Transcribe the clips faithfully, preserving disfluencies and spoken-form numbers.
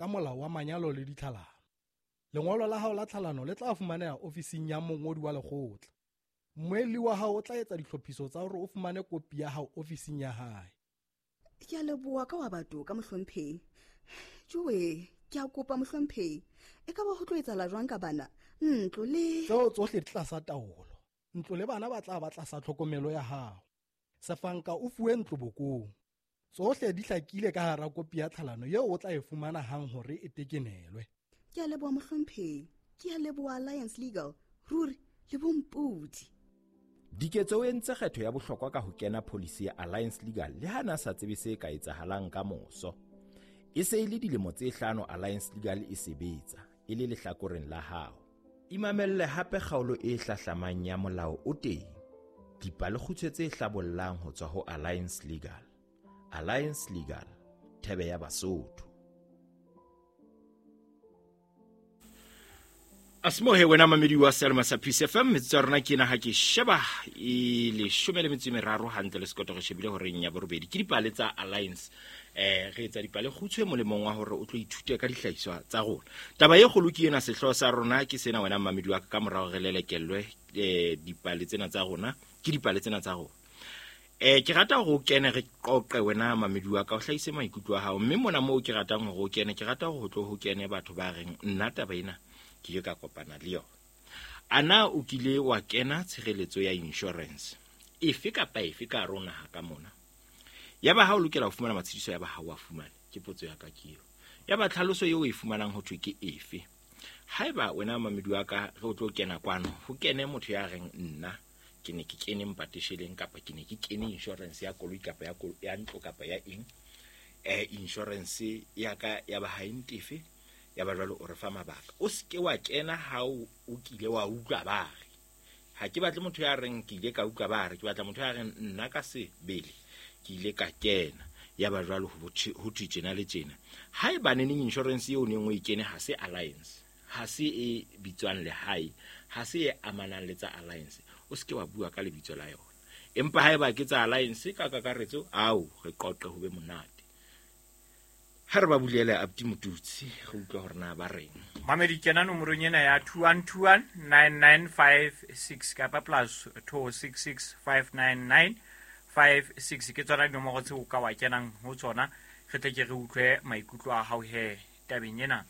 ka molao wa manyalo le ditlhalano. Lengolo la hao la tlhalano le tla fumaneha ofising ya mongodi wa lekgotla. Mmuelli wa hao o tla etsa ditlhophiso tsa hore o fumane kopi ya hao ofising ya hae. Ke a leboha ka wa batho ka mohlomphehi. Joe, ke a kopa mohlomphehi. E ka ba ho tlo etsahala jwang ka bana? Ntlo le Tseo tsohle di tlasa taolo. Ntlo le bana ba tla ba tlasa tlhokomelo ya hao. Sefanka o fuwe ntlo bokong. Tsohle di hlakile ka hara kopi ya tlhalano eo o tla e fumana hang hore e tekenelwe. Ke a leboha mohlomphehi. Ke a leboha Alliance Legal. Ruri le bompodi. Diketso o entse kgetho ya bohlokwa ka ho kena pholisi ya Alliance Legal le ha na sa tsebe se ka etsahalang ka moso. E se e le dilemo tse hlano Alliance Legal e sebetsa e le lehlakoreng la hao. Imamelle hape kgaolo e hlahlamang ya molao o teng. Dipalekgutshwe tse hlabollang ho tswa ho Alliance Legal. Alliance Legal, thebe ya Basotho. Asmohe wena mamedi wa Selma sa Peace F M, metsotso ya rona ke ena ha ke sheba e leshome le metso e meraro hantle le sekoto re shebile horeng ya borobedi. Ke dipale tsa Alliance. Eh re etsa dipale kgutshwe molemong wa hore o tlo ithute ka dihlahiswa tsa rona. Taba e kgolo ke ena, sehlooho sa rona ke sena wena mamedi wa ka, ka morao re lelekellwe eh dipale tsena tsa rona, ke dipale tsena tsa rona. Eh ke rata hore o kene re qoqe wena mamedi wa ka, o hlahise maikutlo a hao, mme mona moo ke ratang hore o kene, ke rata hore ho tlo ho kene batho ba reng nna taba ena ke ile ka kopana le yona. Ana o kile wa kena tshireletso ya insurance efe kapa efe ka hare ho naha ka mona? Ya ba ha o lokela ho fumana matshediso, ya ba ha o a fumane? Ke potso ya ka ke eo. Ya ba tlhaloso eo o e fumanang ho thwe ke efe? Haeba wena mamedi wa ka re o tlo kena kwano, ho kene motho ya reng nna ke ne ke kene mpatesheleng, kapa ke ne ke kene insurance ya koloi kapa ya ya ntlo kapa ya eng, eh insurance ya ka ya ba ha e ntefe, ya ba jwalo o re fa mabaka. O seke wa kena ha o kile wa utlwa ba re. Ha ke batle motho ya reng ke ile ka utlwa ba re, ke batla motho ya reng nna ka sebele ke ile ka kena. Ya ba jwalo ho thwe tjena le tjena. Haeba neneng insurance eo neng o e kene ha se Alliance, ha se e bitswang lehae, ha se e amanang le tsa Alliance, o seke wa bua ka lebitso la yona. Empa haeba ke tsa Alliance ka kakaretso, ao re qoqe ho be monate. Ha re ba bulele Abdi Motutsi, re utlwa hore na ba reng. Mamedi, kena nomorong ena ya two one two one nine nine five six kapa plus two six six five nine nine five six. Ke tsona dinomoro tseo ka wa kenang ho tsona, re tle ke re utlwe maikutlo a hao he tabeng ena.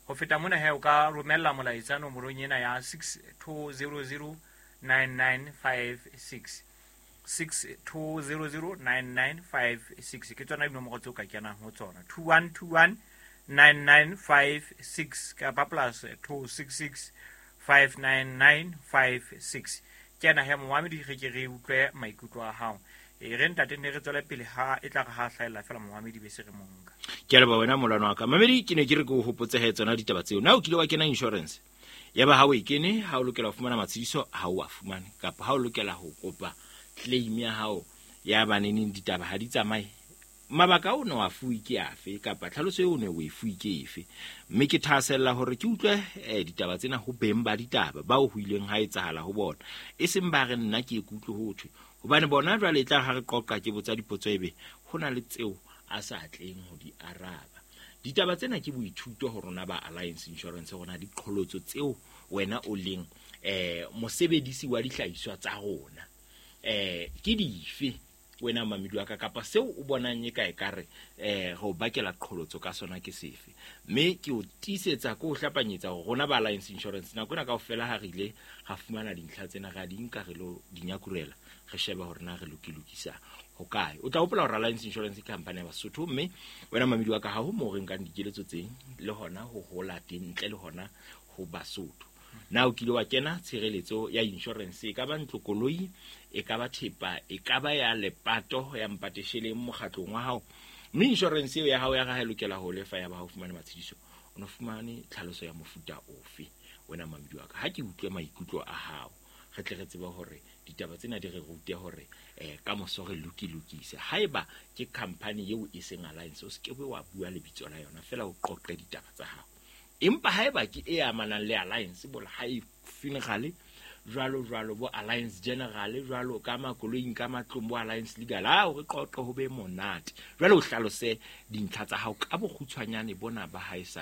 Ho feta mona he o ka romella molaetsa nomorong ena ya six two zero zero nine nine five six. six two zero zero nine nine five six ke tsona dinomoro tseo ka kenang ho tsona. Two one two one nine nine five six kapa plus two six six five nine nine five six. Kena he momamedi, re ke re utlwe maikutlo a hao. E re ntate ne re tswele pele ha e tla re ha hlahella fela momamedi be se re monka. Ke a leboha wena molwana wa ka. Mamedi, ke ne ke re ke o hopotse he tsona ditaba tseo. Na o kile wa kena insurance? Ya ba ha o e kene, ha o lokela ho fumana matshediso, ha o a fumane, kapa ha o lokela ho kopa claim ya hao ya baneneng ditaba ha di tsamaye, mabaka o ne wa fuwe ke afe, kapa tlhaloso eo o ne o e fuwe ke efe? Mme ke thahasella hore ke utlwe eh, ditaba tsena ho beng ba ditaba bao ho ileng ha etsahala ho bona, e seng ba re nna ke ikutlwe ho thwe, hobane bona jwale e tla ha re qoqa ke botsa dipotso ebe ho na le tseo a sa tleng ho di araba. Ditaba tsena ke boithuto ho rona ba Alliance Insurance, rona diqholotso tseo wena o leng eh mosebedisi wa dihlahiswa tsa rona eh ke dife wena mamedi wa ka, kapa seo o bonang e ka e kare eh go bakela qholotso ka sona ke sefe. Mme ke o tiisetsa ko o hlapanyetsa hore rona ba Alliance Insurance nako ena kaofela ha re ile ra fumana dintlha tsena, ra di nka re lo di nyakurela, re sheba hore na re lokilokisa ho kae. O tla hopola hore Alliance Insurance ke company ya Basotho, mme wena mamedi wa ka ha ho moo re nkang dikeletso tseng le hona ho hola teng ntle le hona ho Basotho. Na o kile wa kena tshireletso ya insurance, e ka ba ntlo, koloi, e ka ba thepa, e ka ba ya lepato ya mpatesheleng mokgatlong wa hao, mme insurance eo ya hao ya ha e lokela ho lefa ya ba ha o fumane matshediso, o no fumane tlhaloso ya mofuta ofe? Wena mamedi wa ka, ha ke utlwe maikutlo a hao, re tle re tsebe hore ditaba tsena di re rute hore eh ka moso re lokilokise. Haeba ke company eo e seng Alliance, o se ke wa bua lebitso la yona fela, o qoqe ditaba tsa hao. Empa haeba ke e amanang le Alliance, bola ha e funeral jwalo jwalo bo Alliance General jwalo ka makoloing ka matlong bo Alliance Legal a hore qoqo ho be monate. Jwale o hlalose dintlha tsa hao ka bokgutshwanyane bona ba haesale.